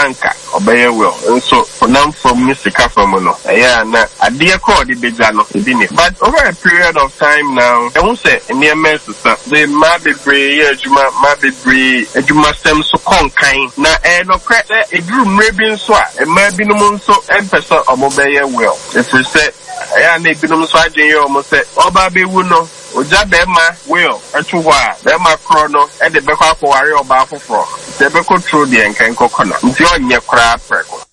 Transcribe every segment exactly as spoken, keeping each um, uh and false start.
Anka ɔbɛyɛ will nso honam fam ne sika fam no, ɛyɛ a na adeɛ kɔ ɔde bɛgya no ebi ni. But over a period of time now, ɛho sɛ nneɛma ɛsesa de, mmaa bebree yɛ adwuma, mmaa bebree adwumasɛm so kɔ nkan, na ɛyɛ nɔkorɛ sɛ ɛduru mmerɛ bi nso a, mmaa binom nso mpɛ sɛ ɔmo bɛyɛ will, ɛfiri sɛ ɛyɛ a na ebinom nso adwene yɛ ɔmo sɛ ɔbaa bɛwu no, ogya bɛrima will ɛto hɔ a, bɛrima korɔ no ɛde bɛkɔ akɔware ɔbaa foforɔ, nti ɛbɛkɔ turo deɛ nka nkɔkɔ na nti ɔnyɛ koraa prɛko.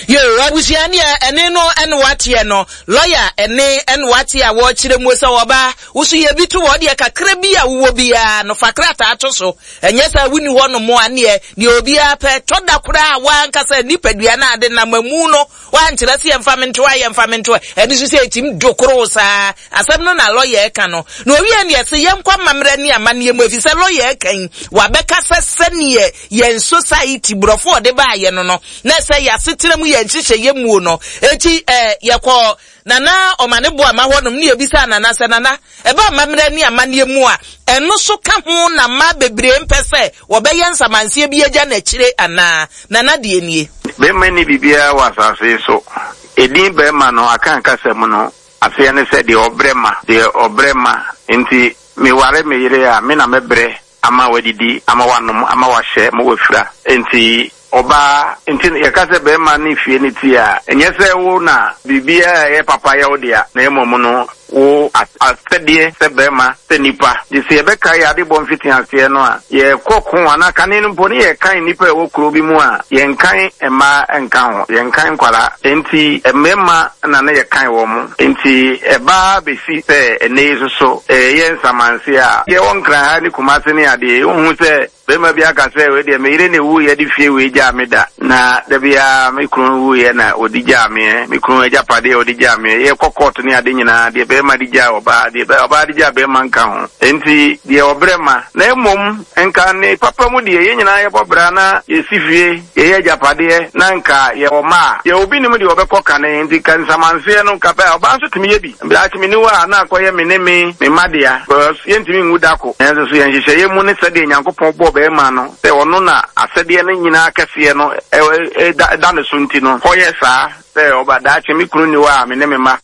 Yo, abusua, neɛ ɛne no ɛne wateɛ no, lɔya ɛne ɛne wate a wɔrekyerɛ mu sɛ ɔbaa woso yɛ bi to wɔ deɛ kakra bi a wowɔ biara no, fa krataa to so. Ɛnyɛ sɛ wonni hɔ nom a, neɛ deɛ obiara pɛ tɔ da koraa a, wankasa nipadua no ade nam amu no wankyerɛ sɛ yɛmfa me ntoa, yɛmfa me ntoa. Ɛno nso sɛ ɛtim dokoro saa asɛm no na lɔya ɛka no na owie neɛ sɛ yɛnkɔ amammerɛ ne amanneɛ mu, ɛfiri sɛ lɔya ɛka yi wabɛka sɛ sɛneɛ yɛn society borɔfo ɔde baayɛ no no na sɛ yɛasetena mu yɛn nhyehyɛeɛ muo no. Eti ɛɛ yɛkɔ Nana ɔma ne boa ma hɔnom ne yɛbisa Nana sɛ, Nana, ɛba amammerɛ ne amanneɛ mu a, ɛno so ka ho na mmaa bebree mpɛ sɛ wɔbɛyɛ nsamanseɛ bi agya n'akyire anaa? Nana deɛ nie. Bɛrima ni biribiara wɔ asase yi so. Edin bɛrima no aka nkasa mu no, aseɛ ne sɛ deɛ ɔbrɛ ma, deɛ ɔbrɛ ma. Nti meware me yere a, me na mɛbrɛ ama wadidi, ama wanom, ama wahyɛ, ma wafira. Nti ɔbaa nti yɛka sɛ bɛrima ne fie ne ti a, ɛnyɛ sɛ wo na biribiara a ɛyɛ papa yɛ wo dea, na mmom no wo asɛdeɛ sɛ bɛrima, sɛ nipa de sɛ yɛbɛka yɛ ade bɔ mfiti aseɛ no a, yɛkɔ ko anaa kane no mpo ne yɛkan nnipa a ɛwɔ kuro bi mu a, yɛnkan mmaa nka ho, yɛnkan nkwaraa. Nti mmarima na ne yɛkan wɔ mo. Nti ɛbaa bɛsi sɛ ɛnɛ yi soso ɛyɛ nsamanse a yɛwɔ Nkran ha ne Kumase ne adeɛ, wohu sɛ bɛrima bi aka sɛ, "Wei deɛ, me yere na ewu yɛ de fie wei gyaa me da, na da biara me kunu wuyɛ na ɔde gyaa meɛ, me kunu agyapadeɛ a ɔde gyaa meɛ." Yɛkɔ court ne ade nyinaa, deɛ bɛrima de gyaa ɔbaa, deɛ ɔbaa de gyaa bɛrima nka ho. Nti deɛ ɔbrɛ ma na mmom nka ne papa mu deɛ, yɛn nyinaa yɛbɔ bra na yɛsi fie, yɛyɛ agyapadeɛ, na nka yɛwɔ mma a, deɛ obi nim deɛ ɔbɛkɔ kane. Nti ka nsamanseɛ no nka bɛ ɔbaa nso tumi yɛ bi daakye me niwa a na akɔyɛ me ne me me mma dea, because yɛntumi nwu da ko. Nanso so yɛn nhyehyɛeɛ mu ne sɛdeɛ Nyankopɔn bɔɔ bɛrima no sɛ ɔno na asɛdeɛ no nyinaa kɛseɛ no ɛda ne so, nti no kɔyɛ saa sɛ ɔba daakye me kunu ni hɔ a, me ne me mma.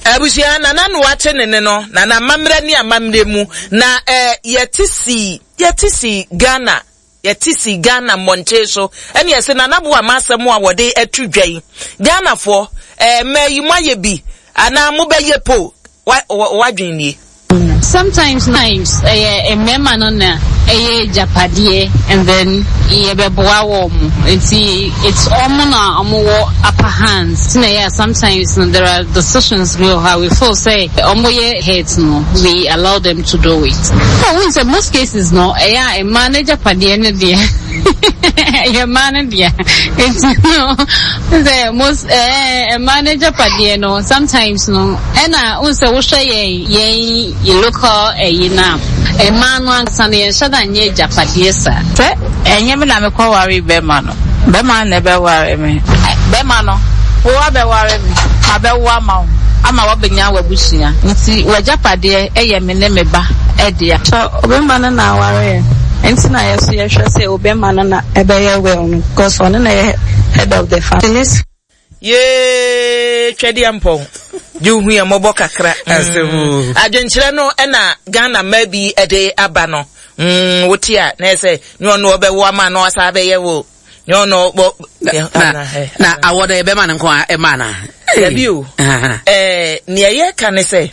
Abusua, Nana no wate ne ne no Nana amammerɛ ne amammerɛ mu na ɛɛ yɛte si yɛte si Ghana, yɛte si Ghana mmɔnten so, ɛne ɛsɛ Nana bo ama asɛm a wɔde atu dwa yi. Ghanafoɔ, ɛɛ mmaa yi, mo ayɛ bi anaa mobɛyɛ po wa wadwen nie? Sometimes times ɛyɛ mmarima no na ɛyɛ agyapadeɛ and then yɛbɛboa wɔn mo, nti it's ɔmo na ɔmo wɔ upper hands, ti na ɛyɛ sometimes no there are decisions bi wɔ hɔ a we feel sɛ ɔmo yɛ heads no, we allow them to do it. Oh, n sɛ most cases no, ɛyɛ a mmaa no agyapadeɛ no deɛ, ɛyɛ mmaa no deɛ. Nti no sɛ most ɛɛ mmaa no agyapadeɛ no sometimes no, ɛna n sɛ wohwɛ yɛn yɛn yɛ local ɛyi na mmaa no ankasa no, yɛnhyɛ da nyɛ agyapadeɛ saa. Sɛ ɛnyɛ me na mekɔware bɛrima no, bɛrima no na ɛbɛware me. Bɛrima no, wo abɛware me, mabɛwo ama wo ama woabɛnya w'abusua, nti w'agyapadeɛ ɛyɛ me ne me ba ɛdea. Sɛ ɔbɛrima no na aware yɛ nti na yɛ so yɛhwɛ sɛ ɔbɛrima no na ɛbɛyɛ will no, because ɔno na yɛ head of the family. Yee, twɛdeɛ mpɔn gye wohu yɛ mmɔbɔ kakra. mm. adwenkyerɛ no ɛna Ghana mmaa bi ɛde aba no. mm, wote a, na ɛsɛ ne ɔno ɔbɛwo ama na ɔsa abɛyɛ wo ne ɔno bɔ. Na na awɔ no yɛbɛma no nko a ɛma na. Dabi o, ɛɛ nea yɛka ne sɛ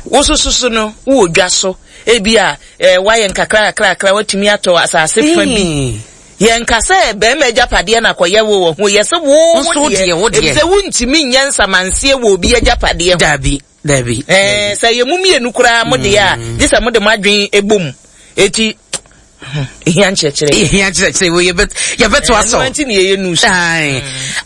wosososo no wowɔ dwa so, ebi a ɛɛ wayɛ nkakra kakra kakra, watumi atɔ asase fa bi. Yɛnka sɛ bɛrima agyapadeɛ na kɔyɛ wo wɔ ho, yɛ sɛ wo wo deɛ, wo deɛ, efisɛ wontumi nyɛ nsamanseɛ wɔ obi agyapadeɛ ho. Dabi, dabi. Ɛɛ sɛ yɛ mu mmienu koraa mo deɛ a, gye sɛ mo de mo adwene ebom. Eti ehia nkyerɛkyerɛ. Ehia nkyerɛkyerɛ wo, yɛbɛ yɛbɛto asɔ. Ɛno nti na yɛyɛ news.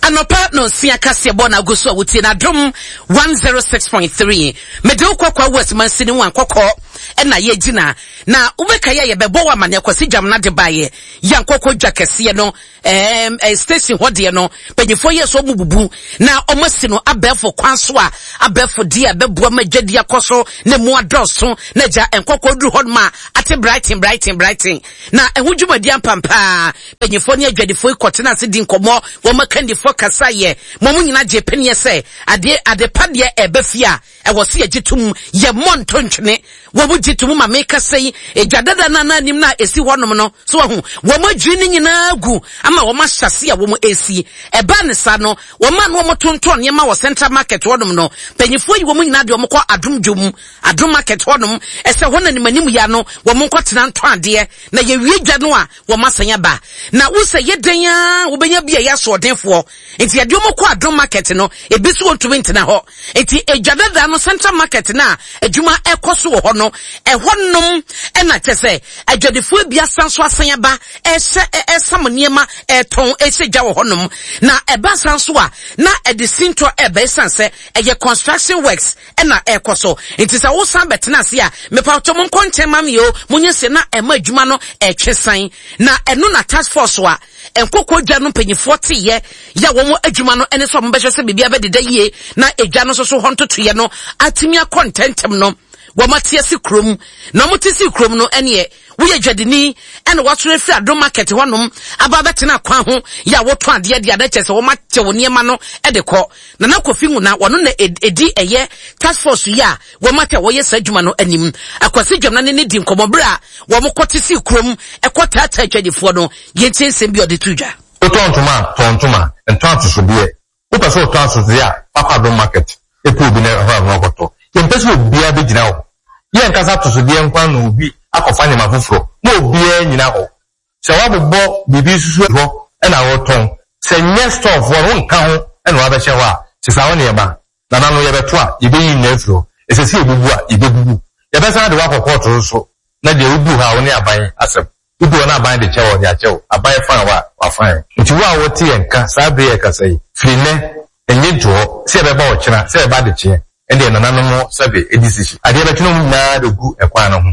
Anɔpa na osia kaseɛ bɔ na ago so a wotie na Adom one zero six point three. Mede wo kɔkɔ West mansini mu ankɔkɔ ɛna yɛgyina na wobɛka yɛ yɛbɛbɔ wɔ amaneɛ Kwasi Dwam na de baeɛ yɛ ankɔkɔ dwa kɛseɛ no, ɛɛm ɛɛ station hɔ deɛ no, mpanyinfoɔ yɛ so ɔmo bubu na ɔmo asi no abɛɛfo kwan so a, abɛɛfo deɛ a bɛboa ma dwadi akɔ so na emu adɔɔso na gya nkɔkɔ duru hɔ nom a ate brighton brighton brighton. nkyɛn na ɛho dwumadi ampampaa mpanyinfoɔ ne adwadifoɔ yi kɔtena ase di nkɔmmɔ wɔn akandifoɔ kasa yɛ mo mo nyinaa gye pɛneɛ sɛ adeɛ adepa deɛ ɛbɛ fie a ɛwɔ se yɛgye tom yɛ mmɔ ntontwene wɔn gye tom ma meka sɛ yi edwa dada na anim na esi hɔnom no so wɔho wɔn adwiri ne nyinaa gu ama wɔn ahyase a wɔn esi ɛbaa ne sa no wɔn a no wɔn tontɔn nneɛma wɔ central market hɔnom no mpanyinfoɔ yi wɔn nyinaa de wɔn kɔ adum dwom adum market hɔnom ɛsɛ hɔ na nimanim ya no wɔn nkɔ tena ntɔn adeɛ na yɛwie dwa no a wɔn asan aba na wosɛ yɛ dan a wobɛnya bi a yɛ asoɔdenfoɔ nti yɛde wɔn kɔ adum market no ebi so wɔntumi ntena hɔ nti edwa dada no central market na adwuma ɛkɔ so wɔ hɔ no ɛhɔ nom ɛna kyɛ sɛ adwadifoɔ bi asan so asan aba ɛhyɛ ɛsam nneɛma ɛtɔn ɛhyɛ dwa wɔ hɔnom na ɛba san so a na ɛde sintɔ ɛbɛ san sɛ ɛyɛ construction works ɛna ɛkɔ so nti sɛ wosan bɛtena ase a mepatɔ mo nkɔ nkyɛn ma mi o mo nyɛ sɛ na ɛma adwuma no ɛtwe san na ɛno na task force a nkoko dwa no mpanyinfoɔ teyɛ yɛ wɔn adwuma no ɛne sɛ wɔn bɛhwɛ sɛ biribi abɛdeda yie na edwa no nso so hɔ ntotoyɛ no atumi akɔ ntɛntɛm no wɔn ate ase kurom na wɔn te si kurom no ɛneɛ woyɛ dwadini ɛna wɔatoro afiri adom market hɔnom aba abɛtena kwan ho yɛ a wɔtɔn adeɛ de adeɛ kyɛ sɛ wɔn akyɛ wɔn nneɛma no ɛde kɔ nana kofi nwuna wɔn na edi ɛyɛ task force yi a wɔn ate a wɔyɛ saa adwuma no anim akwasi dwamna ne ne di nkɔmɔ bere a wɔn kɔ te si kurom ɛkɔ taataa adwadifoɔ no yɛn ti nsɛm bi a ɔde to dwa. Wotɔ ntoma tɔ ntoma ntɔ atosodeɛ wopɛ sɛ wotɔ atosodeɛ a fakɔ adom market epu obi na ɛhɔ a ɔkɔtɔ yɛmpɛ sɛ obiara bɛgyina hɔ yɛn nkasa atosodeɛ nkwa na obi akɔfa nneɛma foforɔ na obiara nyina hɔ sɛ wabobɔ biribi susu hɔ ɛna wɔtɔn sɛ nyɛ storefoɔ no nka ho ɛna wabɛhyɛ hɔ a sesa wo nneɛma nana no yɛbɛto a yɛbɛyi nyinaa afiri hɔ ɛsɛ sɛ yɛbubu a yɛbɛbubu yɛbɛsan de wakɔ kɔɔto nso na deɛ wodu hɔ a wo ne aban asɛm wodu hɔ na aban de kyɛ wɔ de akyɛ wo aban fan wa wafan nti wo a wɔte yɛn ka saa bere yɛ kasa yi firi nnɛ ɛnyɛ nto hɔ sɛ yɛbɛba ɔkyena sɛ yɛba adekyeɛ ɛdeɛ nananom sɛbe ɛdi sisi adeɛ bɛtwe no nyinaa de gu ɛkwan no ho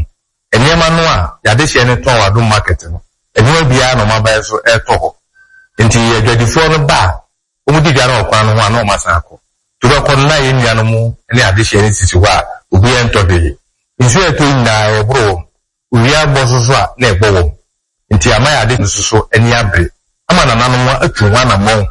nneɛma no a yɛade hyɛ no tɔn wɔ adom market no nneɛma biara na ɔmo aban so ɛtɔ hɔ nti adwadifoɔ no ba a wɔn di dwa no wɔ kwan no ho a na wɔn asan akɔ to bɛkɔ no na yɛn nuanom ne adehyeɛ no sisi hɔ a obiara ntɔ hwee nsuo a ɛtɔ nyinaa ɛboro wɔn owia bɔ so so a na ɛbɔ wɔn nti ama yɛ ade no soso ani abere ama nananom atu ho anammɔn.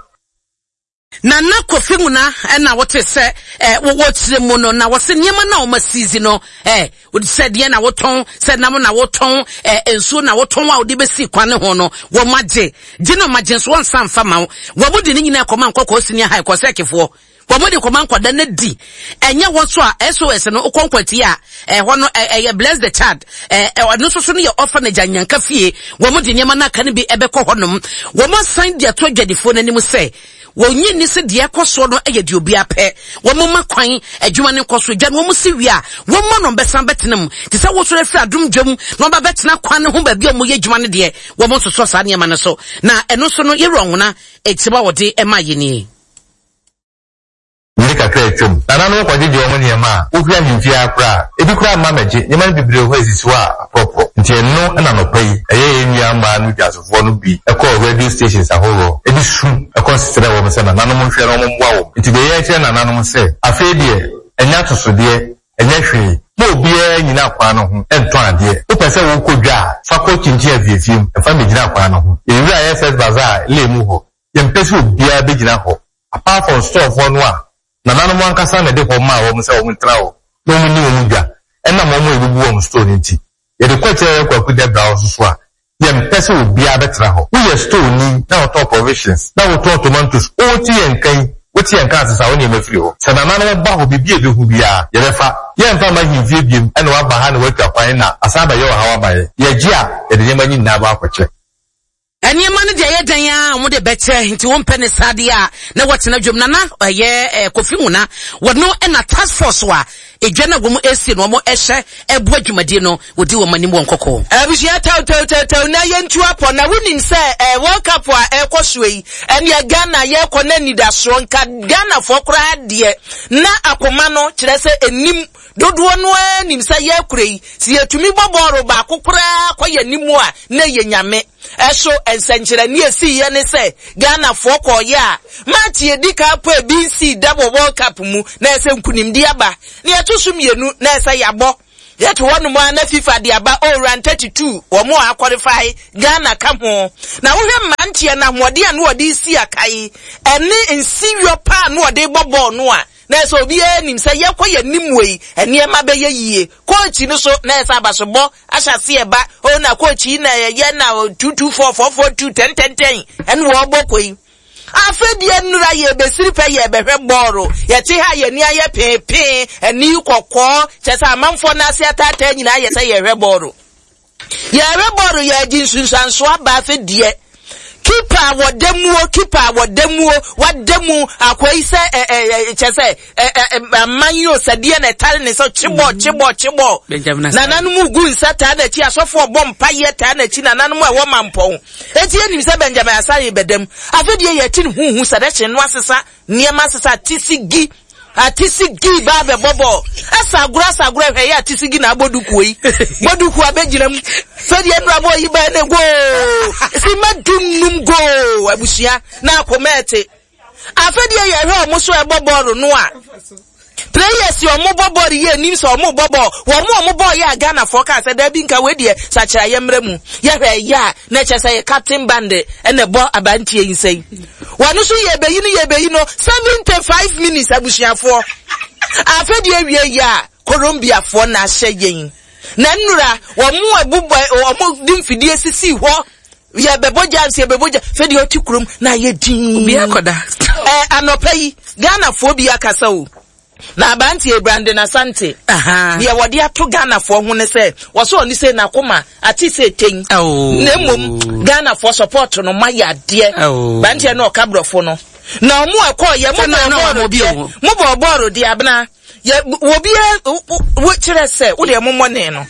Nana Kofi Nwuna ɛna wɔte sɛ ɛ wɔwɔ kyerɛ mu no na wɔsɛ nneɛma na wɔn asizi no ɛ sɛ deɛ na wɔtɔn sɛ nam na wɔtɔn ɛ nsuo na wɔtɔn a wɔde bɛsi kwan ne ho no wɔn agye gye na wɔn agye nso wɔn nsa nfa ma wɔn wɔn de ne nyinaa kɔma nkɔkɔɔ senior high kɔsɛ kefoɔ wɔn de kɔma nkɔda ne di ɛnyɛ wɔn so a S O S no okɔ nkwati a ɛhɔ no ɛyɛ Bless the Child ɛ ɔno nso so no yɛ orphanage anyanka fie wɔn de nneɛma no aka no bi ɛbɛkɔ hɔnom wɔn asan de ato adwadifoɔ n'anim sɛ wɔnyi ni sɛ deɛ ɛkɔ soɔ no yɛ deɛ obi apɛ wɔn ma kwan adwuma no nkɔ so dwa no wɔn si wie a wɔn ma no bɛsan bɛtena mu te sɛ wɔsɔrɔ afiri adum dwam na wɔn ba bɛtena kwan no ho baabi a wɔn yɛ adwuma no deɛ wɔn nsosɔ saa nneɛma no so na ɛno nso no yɛwura ɔhona etiba wɔde ɛma yɛ nie. Mmiri kakra atwam nananom kɔgyegye wɔn nneɛma a wofiri ahemfie akora a ebi koraa mma mɛgye nneɛma no bebree hɔ esisi hɔ a aporɔporɔ nti ɛno ɛna nɔpa yi ɛyɛ yɛn nua mmaa no dwasofoɔ no bi ɛkɔɔ radio stations ahoroɔ ebi su ɛkɔ nsesrɛ wɔn sɛ nananom nhwɛ na wɔn mmoa wɔn nti deɛ yɛkyerɛ nananom sɛ afei deɛ ɛnyɛ atosodeɛ ɛnyɛ hwee ma obiara nyina kwan no ho ɛntɔn adeɛ wopɛ sɛ wokɔ dwa a fa kɔ kyinkyin afiefie mu ɛfa mmɛgyina kwan no ho yɛwura yɛ First Bazaar lee mu hɔ yɛmpɛ sɛ obiara bɛgyina hɔ apart from storefoɔ no a nananom ankasa na ɛde hɔ maa wɔn sɛ wɔn ntena hɔ na wɔn ni wɔn dwa ɛnam wɔn a ebubu wɔn store no nti yɛde kɔ kyerɛ yɛ kwaku dɛbra hɔ soso a yɛmpɛ sɛ obiara bɛtena hɔ woyɛ store ni na wɔtɔn provisions na wɔtɔn tomatoes wɔte yɛn nkan wote yɛn nkan asesa wɔn nneɛma firi hɔ sɛ nananom ba hɔ biribi a ebehu biara yɛbɛfa yɛmfa ma ahemfie biem ɛna waba ha na watwa kwan na asan abɛyɛ ɔhaw abayɛ yɛgye a yɛde nneɛma nyinaa ba akɔkyɛ. Nneɛma no deɛ ɛyɛ dan a wɔn de bɛkyɛ nti wɔn mpɛ ne saa deɛ a na wɔtena dwom nana ɛyɛ ɛɛ Kofi Nwuna wɔn ɛna task force a edwa na wɔn esie no wɔn ɛhyɛ ɛboa dwumadie no wɔdi wɔn anim wɔn kɔkɔɔ. Abusua, tɛw tɛw tɛw tɛw na yɛntu apɔ na wonim sɛ ɛɛ World Cup a ɛrekɔ so yi ɛneɛ Ghana yɛrekɔ na anidasoɔ nka Ghanafoɔ koraa deɛ na akoma no kyerɛ sɛ enim dodoɔ no ara nim sɛ yɛrekora yi sɛ yɛtumi bɔ bɔɔlo baako koraa kɔ yɛn anim a na yɛ Nyame ɛso nsɛnkyerɛnne esi yɛ ne sɛ Ghanafoɔ kɔɔyɛ a match yɛdi ka po ebi nsi da wɔ World Cup mu na ɛsɛ nkunimdi aba na yɛto so mmienu na ɛsɛ yɛabɔ Yɛte hɔ nom a na FIFA de aba o round thirty-two wɔn a qualify Ghana ka ho. Na wohwɛ mmeranteɛ na ahoɔden a na wɔde si akae ɛne nsiwɔ paa na wɔde bɔ bɔɔl no a na ɛsɛ obiara nim sɛ yɛkɔ yɛ nim wei nneɛma bɛyɛ yie. Coach no so na ɛsɛ abasobɔ ahyɛ aseɛ ba o na coach yi na ɛyɛ na two two four four four two ten ten ten ɛne wɔbɔ kɔ yi. Afɛdeɛ nnura yɛ bɛsiri pɛ yɛ bɛhwɛ bɔɔlo yɛte ha yɛ ni ayɛ peepee ani kɔkɔɔ kyɛ sɛ amanfoɔ n'ase ataataa nyinaa yɛ sɛ yɛhwɛ bɔɔlo yɛhwɛ bɔɔlo yɛgye nsunsuanso aba afɛdeɛ keeper wɔ muo keeper wɔ muo wada mu akɔ yi sɛ ɛ ɛ kyɛ sɛ ɛ ɛ aman yi o sɛdeɛ na ɛtare ne sɛ kyebɔ kyebɔ kyebɔ nananom gu nsa taa n'akyi asɔfoɔ bɔ mpayɛ taa n'akyi nananom a ɛwɔ mampɔn eti enim sɛ Benjamin Asare bɛdam afɛdeɛ yɛ ti ne huhu sɛdɛkye no asesa nneɛma asesa atisi gi atisi gi ba bɛ bɔbɔ ɛsa agorɔ asa agorɔ hwɛ yɛ atisi gi na abɔ duku yi bɔ duku abɛgyina mu fɛdeɛ nnura bɔ yi ba ne goo si ma dum num goo abusua na akoma ɛte afɛdeɛ yɛ hwɛ ɔmo so ɛbɔ bɔɔlo no a players ɔmo bɔ bɔɔlo yɛ anim sɛ ɔmo bɔ bɔɔlo wɔn mo ɔmo bɔɔlo yɛ a Ghanafoɔ kaa sɛ dɛbi nka wei deɛ sakyera yɛ mmerɛ mu yɛhwɛ yɛ a na kyerɛ sɛ yɛ captain band ɛna ɛbɔ abantie yi nsɛn wɔn nso yɛ bɛyi no yɛ bɛyi no seventy five minutes abusuafoɔ afɛdeɛ wie yɛ a Colombiafoɔ na ahyɛ yɛn na nnura wɔn mo ɛbobɔ wɔn de mfidie sisi hɔ yɛ bɛbɔ jams yɛ bɛbɔ jams fɛdeɛ ɔte kurom na ayɛ din obi akɔda ɛɛ anɔpɛ yi Ghanafoɔ bi akasa o. Na abantie Brandon Asante. Deɛ wɔde ato Ghanafoɔ ho ne sɛ wɔsɔ ɔne sɛ n'akoma ate sɛ ten. Na mmom Ghanafoɔ support no ma yɛ adeɛ. Abantie no ɔka borɔfo no. Na ɔmo ɛkɔ yɛ mo bɔ bɔɔlo deɛ mo bɔ bɔɔlo deɛ abena yɛ obi wo kyerɛ sɛ wo deɛ mo mmɔ ne no.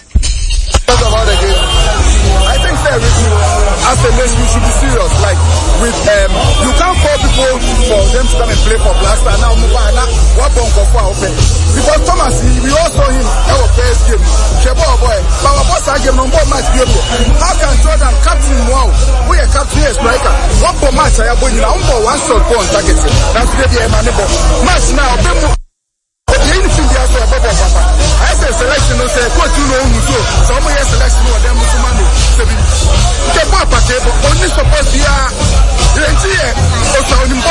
I think that as a nation we should be serious. Like with um, you can't call people for them to come and play for Black Star now. Now what for open? Because Thomas, we all saw him our first game. Shebo boy, but our boss game no more match game. How can Jordan captain wow? We are captain here striker. One more match I have won. One more one shot go on target. That's the man match now. I say selection, no say coach, you know who so. So I'm here selection or them Muslimani. The papa table only suppose be a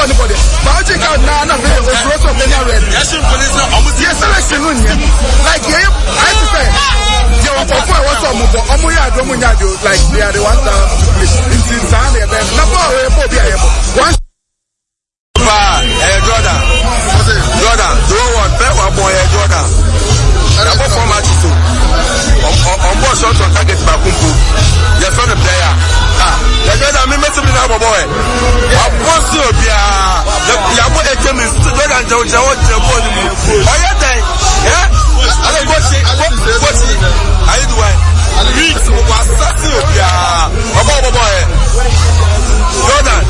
anybody. But I think out now, na red. Yes, selection no like yeah, I have to say. Yeah, for what's up, like they are the ones that play. In Sunday, one. Jordan, Jordan, the one, boy, Jordan. About four matches too. On board shot on target Bakumpu. Your friend the player. Ah, the Jordan me met me now boy. I want to be a ya boy eighty minutes. Jordan Joe Joe Joe boy. Oh yeah, then. Yeah. I go see go see. I do why. Was boy boy. Jordan,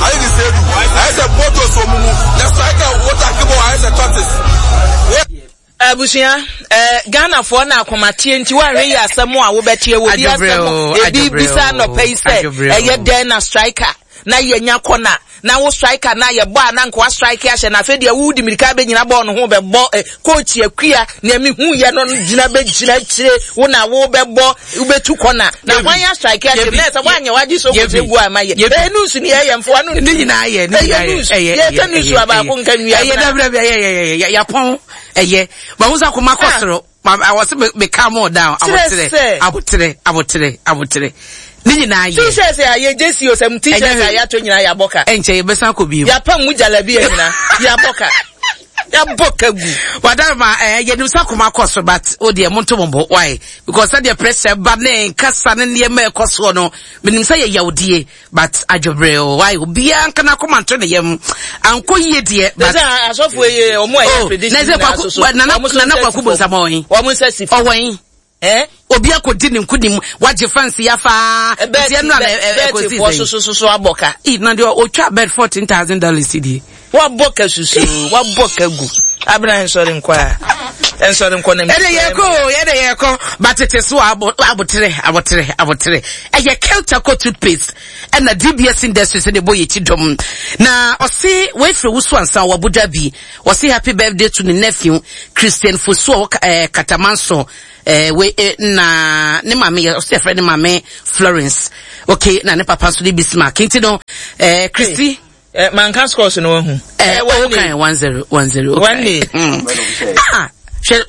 I didn't say I said Porto so mumu. The striker what I give I said tortoise. Abusua eh Ghana for na akomatie nti wa hwe asem a wo betie wo bi asem ebi bisa no pei se eye den na striker na ye nya kona na wo striker na ye bo na nko strike ahye na fe de wo di mirika be nyina bo no ho be bo coach akua na me hu ye no gina be gina kire wo na wo be bo wo betu kona na hwan ya strike ahye na se wa nya wa gi so ko gu ama ye e nusu ni ye mfo anu ni nyina ye ni nyina ye ye ye nusu aba ko nka nua ye da bra bra ye ye ye ya pon eye ba wo sa koma kosoro I was me calm more down abotere abotere abotere abotere ni nyina ye t-shirt ya ye J C o sem t-shirt ya to nyina ya boka enche ye besa ko bi ya pam mu jalabi ya nyina ya boka ya boka gu wadama eh ye nusa koma koso but o de monto mombo why because that the pressure ba ne nkasa ne ne ma ekoso no menim say ye yawdie but adwobre why obi anka na koma nto ne yem anko ye de but asofo ye omo e prediction na na na kwaku bonsa oyin omo nsasi owen eh obi akodi ne nkunim waje fancy ya fa ti enu na ekosi so so so so aboka e na de otwa bed fourteen thousand dollars cd wa boka susu wa boka gu. Abena nsɔre nkɔ a. Nsɔre nkɔ na. Ɛde yɛ kɔ yɛde yɛ kɔ batete so abo abotere abotere abotere. Ɛyɛ Keltaco toothpaste ɛna D B S Industries de bɔ yɛ ti dɔm. Na ɔse wefre wusu ansa wɔ Abu Dhabi. Ɔse happy birthday to ne nephew Christian Fosu eh Katamanso. Eh we eh, na ne mame ɔse friend ne mame Florence. Okay, na ne papa so de Bismarck. Nti no eh Christy eh manka scores no hu. Eh okay, one zero one zero. Okay. Mm. Ah,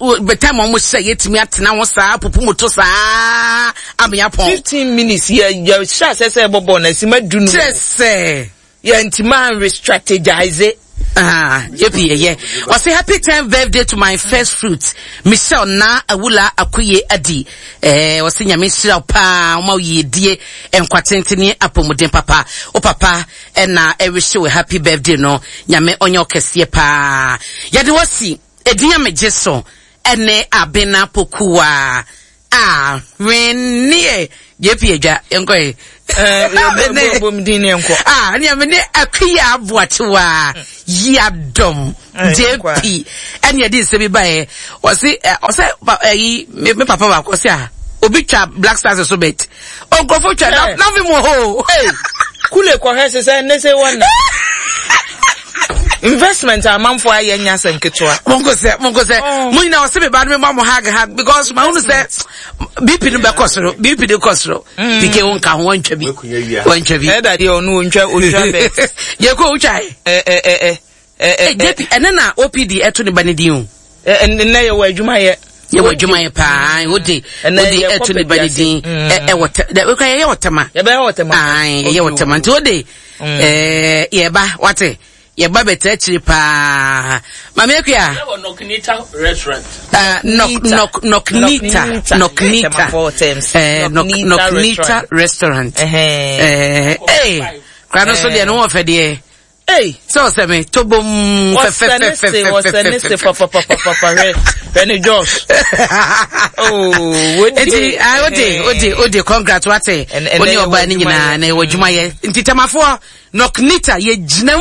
hwe time omo se yetimi atena ho saa pupu moto saa ameyapon. fifteen minutes ye ye sha se se bobo na sima du no. Chese. Ye ntima re strategize. Ah, yepi ye ye. I say happy tenth birthday to my first fruit, Michelle na Awula Akuye Adi. Eh, I say nyame shira pa, ma ye die enkwatentene apomuden papa. O papa e na e wish you a happy birthday no. Nyame onye okese pa. Yade wasi edin ameje so ene Abena Pokuwa. Ah, wenie. Yepi eja enkoe. Eh, ah, ni amene akuya aboatewa yadom J P ene yedi nse bi bae o se o se eh me papa ba ko se ah obi twa Black Stars so bet onkrofo twa na na mo ho kule ko hwe se ne se wona investment amanfo aye nya se nketewa monko se monko se mo nyina o se me ba me ma mo hag hag because ma hunu se B P no be kosoro B P de kosoro P K won ka ho wantwa bi wantwa bi eh daddy onu ontwa ontwa be ye ko otwa eh eh eh eh J P ene na O P D eto ne ba ne din o eh ne ye wa adwuma ye ye wa adwuma ye pa ode ode eto ne ba ne din eh eh wota we ka ye wotama ye be wotama ai ye wotama nti ode eh ye ba wate ye ba beta chiri pa mami akua Noknita restaurant. Uh, nok nok noknita noknita eh noknita restaurant. Eh eh krano so de no wo fe de. Hey, so se me tobom fe fe fe fe fe fe fe pa pa pa pa pa re Josh. Oh, enti ah ode ode ode congrats wate. Oni oba ni nyina na wo dwuma ye. Nti tamafo Noknita ye jinam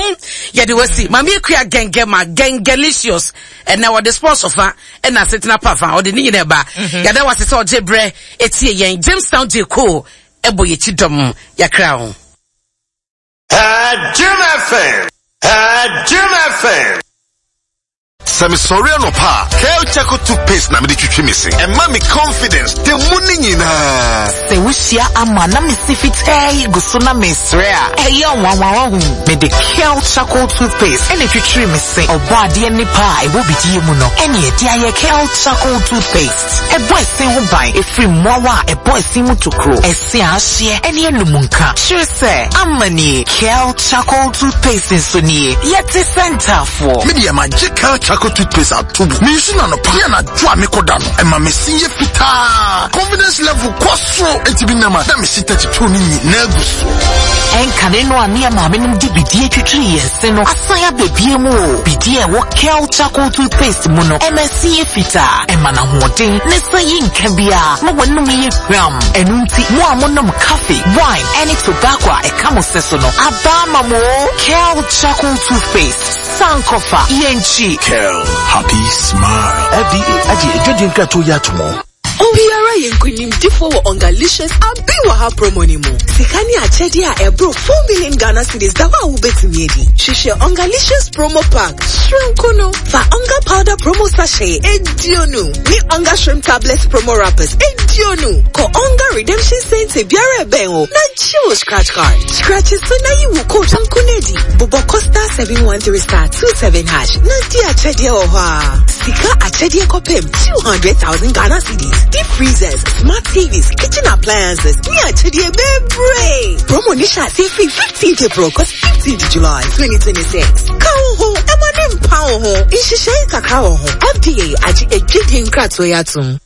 ye de wasi. Mami akua gengema gengelicious. And now the sponsor fa and na setna pa fa ode ni nyina ba. Ya da wase se oje bre etie yen Jamestown J Co ebo ye chidom ya crown. Jim F M. Jim F M. Sami sorry no pa. Kel Charcoal toothpaste na me de twitwi me se. E ma me confidence de mu ni nyina. Se wuhia ama na me sifitai guso na me sre a. Eyo wanwan hu. Me de Kel Charcoal toothpaste ene twitwi me se. Obo ade ne pa e wo bidie mu no. Ene e de aye Kel Charcoal toothpaste. E bo ese ho ban e firi mmoawa e bo ese mu tokro. Ese a hye ene enum nka. Kyerɛ sɛ amani Kel Charcoal toothpaste nso nie. Yɛte center for. Me de ma gye Kel Charcoal toothpaste atubu. Me nsu na no pa. Ya na dwa me koda no. E ma me sinye fitaa. Confidence level kwaso. Enti bi nama na me sita titro ni na aguso. Enka ne no ane ma me num di bidie twitwi yense no. Asan abebie mu o. Bidie wo Kel Charcoal toothpaste mu no. E ma sinye fitaa. E ma na hoden ne san yi nka bia. Ma wonum ye gram. Enu nti mo amonom coffee, wine, any tobacco a e ka mo seso no. Aba ma mo Kel Charcoal toothpaste. Sankofa Yenchi. Kel Happy Smile. F D A aji ejodi nka to ya tomo. Obiara yenkunimdifo wo Ongalicious abi wa ha promo ni mu. Sikani achedi a ebro four million Ghana cedis da wa wubetumi edi. Hwehwɛ Ongalicious promo pack. Shrimp no fa Onga powder promo sachet edionu. Ni Onga shrimp tablets promo wrappers edionu. Ko Onga redemption center biara eben o. Na chiwo scratch card. Scratch so na yi wo code ankunedi. Boboko star seven one three star two seven hash. Na di achedi o ha. Sika achedi kopem two hundred thousand Ghana cedis. Deep freezers, smart T Vs, kitchen appliances. Ni achedi bebre. Promo nisha se free fifteenth April cause fifteenth July twenty twenty-six. Ka ho, ema ne mpa ho. Nhyehyɛe kakra wɔ ho. F D A agye edwidi nkratoɔ yi atom.